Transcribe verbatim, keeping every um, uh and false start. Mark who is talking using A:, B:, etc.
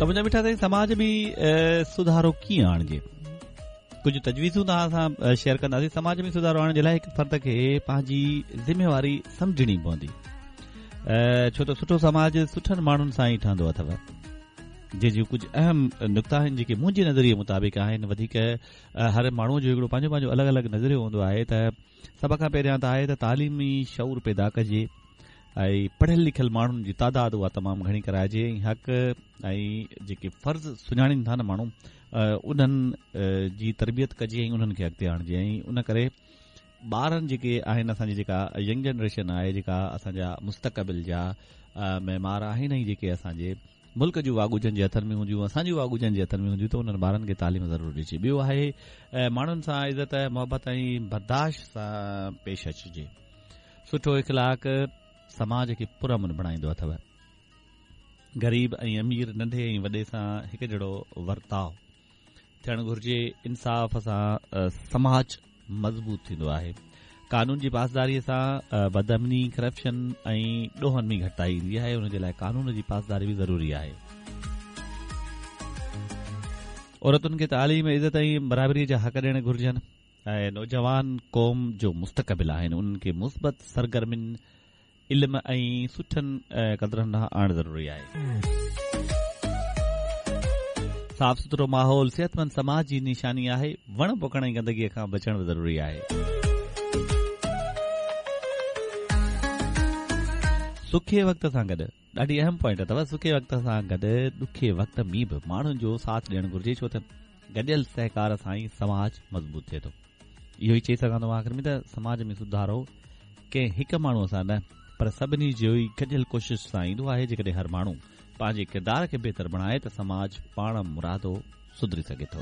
A: ته منهنجا مٺا سائين، سماج ۾ سڌارو ڪيئن آڻجي؟ ڪجهه تجويزون توهان سان شيئر ڪنداسين. سماج ۾ سڌارو آڻڻ جي لاءِ هڪ فرد کي پنهنجي ذميواري سمجهڻي پوندي، ڇو ته سٺو سماج سٺن ماڻهن سان ئي ٺهندو اٿو. جنهن جون ڪجهه اهم نڪتا آهن جيڪي منهنجي نظريي مطابق آهن. وڌيڪ هر ماڻهوءَ جو هڪڙو پنهنجو پنهنجو الڳ الڳ نظريو هوندو آهي. ته سڀ کان پهريان ته آهي ته تعليمي شعور پيدا ڪجي ۽ پڙهيل لکيل ماڻهن جي تعداد اها تمام گهڻي ڪرائجي ۽ حق ۽ جيڪي فرض سڃاڻين ٿا نه ماڻهو، انهن جي تربيت ڪجي ۽ انهن کي اڳتي آڻجي. ۽ ان ڪري ٻارن جيڪي آهن، اسان جي جيڪا ينگ جنريشن آهي، جيڪا اسان جا مستقبل جا معمار آهن ۽ جيڪي اسان جي ملڪ جون واڳون جن جي هٿن ۾ هونديون، اسان جون واڳون جن جي هٿن ۾ هونديون، ته انهن ٻارن کي تعليم ضرور ڏجي. ٻيو آهي ماڻهن سان عزت، محبت ۽ برداشت سان پيش اچجي. سٺو اخلاق سماج کي پرامن بڻائيندو اٿو. غريب ۽ امير، ننڍي ۽ وڏي سان هڪ جهڙو ورتاءُ ٿيڻ گهرجي. انصاف سان سماج مضبوط ٿيندو آهي. قانون جي پاسداريءَ سان بدامني، ڪرپشن ۽ ڏوهن ۾ گهٽتائي ايندي آهي. ان جي لاءِ قانون جي پاسداري به ضروري آهي. عورتن کي تعليم، عزت ۽ برابريءَ جا حق ڏيڻ گهرجن. ۽ نوجوان قوم جو مستقبل آهن، انهن کي مثبت سرگرمين، علم ۽ سٺن قدرن ڏانهن آڻڻ ضروري آهي. صاف سٿرو ماحول صحتمند سماج جي نشاني آهي. وڻ پوکڻ ۽ گندگيءَ کان بچڻ به ضروري آهي. سکي وقت سان گڏ، ڏاڍي اهم پوائنٽ اٿو، سکي وقت سان گڏ ڏکي وقت ۾ به ماڻهن جو ساٿ ڏيڻ گهرجي، ڇو ته گڏيل سهڪار سان ئي سماج مضبوط ٿئي ٿو. اهو ئي چئي سگهان ٿو مان آخر ۾ ته سماج ۾ سڌارو ڪنهن هڪ ماڻهوءَ سان نه پر سڀني جي ئي گڏيل ڪوشش سان ايندو آهي. جيڪڏهن هر ماڻهو پنهنجي ڪردار کي بهتر بڻائي ته سماج پاڻ مرادو سڌري سگهي ٿو.